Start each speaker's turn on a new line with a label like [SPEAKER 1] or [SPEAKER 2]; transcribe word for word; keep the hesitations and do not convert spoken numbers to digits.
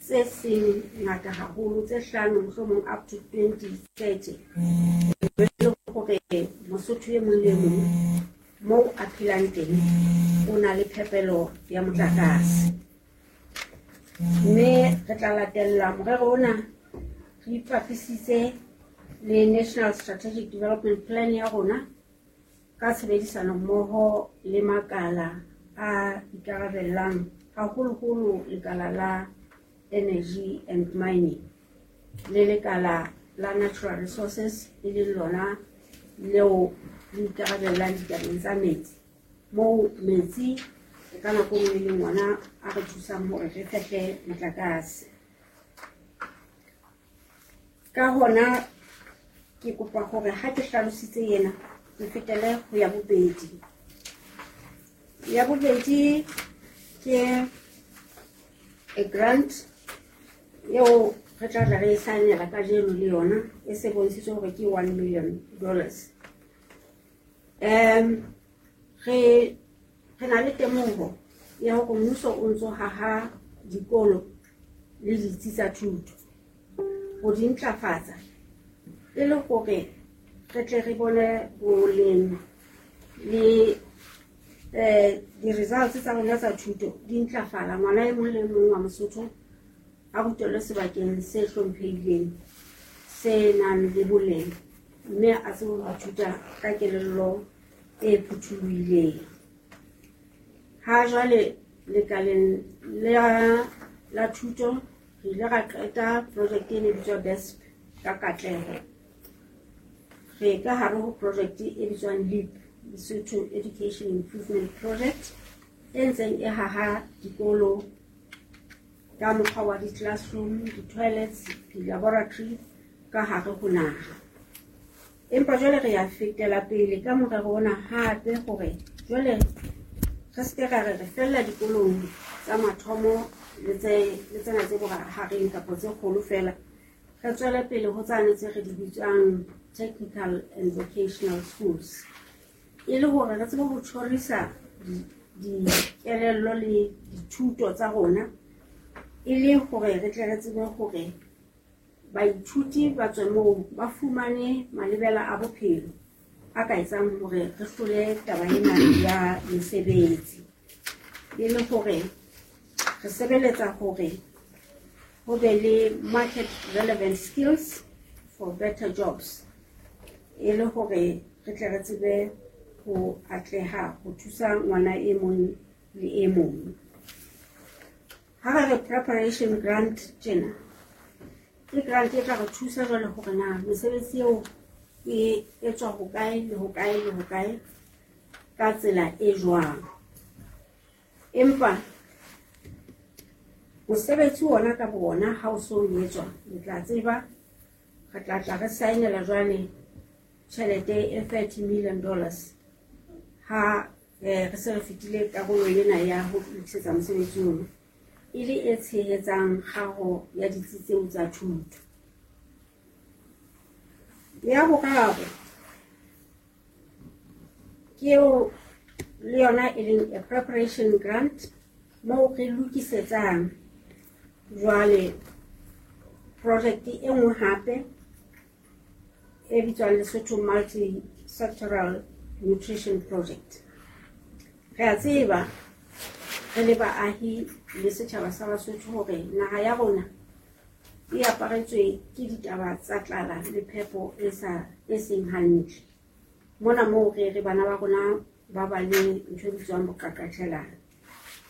[SPEAKER 1] tse seng ngata haholo, tse hlano mohlomong up to twenty thirty, e le hore Mosotho e mong le mong moo a phelang teng o na le phepelo ya motlakase. Mme re tla latella morero ona re ipapisitse le National Strategic Development Plan ya rona ka tshebedisano mmoho le makala a ikarabellang, haholoholo lekala la Energy and Mining le lekala la Natural Resources, e leng lona leo le ikarabellang ditabeng tsa metsi, moo metsi ka nako e nngwe e leng ona a re thusang hore re fehle motlakase. Ka hona ke kopa hore ha ke hlalositse ena ke fetele ho ya bobedi. Ya bobedi ke a grant eo re tla tla re e saenela kajeno le yona, e se bontshitswe hore ke one million dollars. Um, re, re na le temoho ya hore mmuso o ntso haha dikolo le ditsi tsa thuto ho di ntlafatsa e le hore re tle re bone boleng le, eh, di-results tsa rona tsa thuto di ntlafala. Ngwana e mong le mong wa Mosotho a rutelwe sebakeng se hlomphehileng, se nang le boleng, mme a tsebe ho ithuta ka kelello e phuthulohileng. Ha jwale lekaleng la, la thuto re ile ra qeta project e ne bitswa B E S P ka katleho. Re ka hare ho project e bitswang LEAP, Lesotho Education Improvement Project, e ntseng e haha dikolo ka mokgwa wa di-classroom, di-toilets, di-laboratory ka hare ho naha. Empa jwale re ya fetela pele ka morero ona hape hore jwale re se ke ra re re fella dikolong tsa mathomo le tse, le tsena tse bohareng kapa tse kgolo feela, re tswele pele ho tsane tse re di bitswang technical and vocational schools, e le hore re tsebe ho tjhorisa di-, dikelello le dithuto tsa rona, e le hore re tle re tsebe hore baithuti ba tswe moo ba fumane malebela a bophelo a ka etsang hore re hlole taba ena ya mesebetsi, e le hore re sebeletsa hore ho be le market relevant skills for better jobs, e le hore re tle re tsebe ho atleha ho thusa ngwana e mong le e mong. Ha re re preparation grant tjena, ke grant e tla re thusa jwale hore na mesebetsi eo e etswa hokae le hokae le hokae ka tsela e jwang. Empa mosebetsi ona ka bo ona ha o so etswa, le tla tseba re tla tla re saenela jwale tjhelete e thirty million dollars ha, eh, re se re fetile karolo ena ya ho lokisetsa mosebetsi ona, e le e tshehetsang kgaho ya ditsi tseo tsa thuto. Ya boraro ke eo le yona e leng a preparation grant, moo re lokisetsang jwale project e nngwe hape e bitswang Lesotho Multi-Sectoral Nutrition Project. Re a tseba re le baahi le setjhaba sa Basotho hore naha ya rona e aparetswe ke ditaba tsa tlala le phepo e sa, e seng hantle. Mona moo re re bana ba rona ba ba le ntho e bitswang boqaqatjhelana.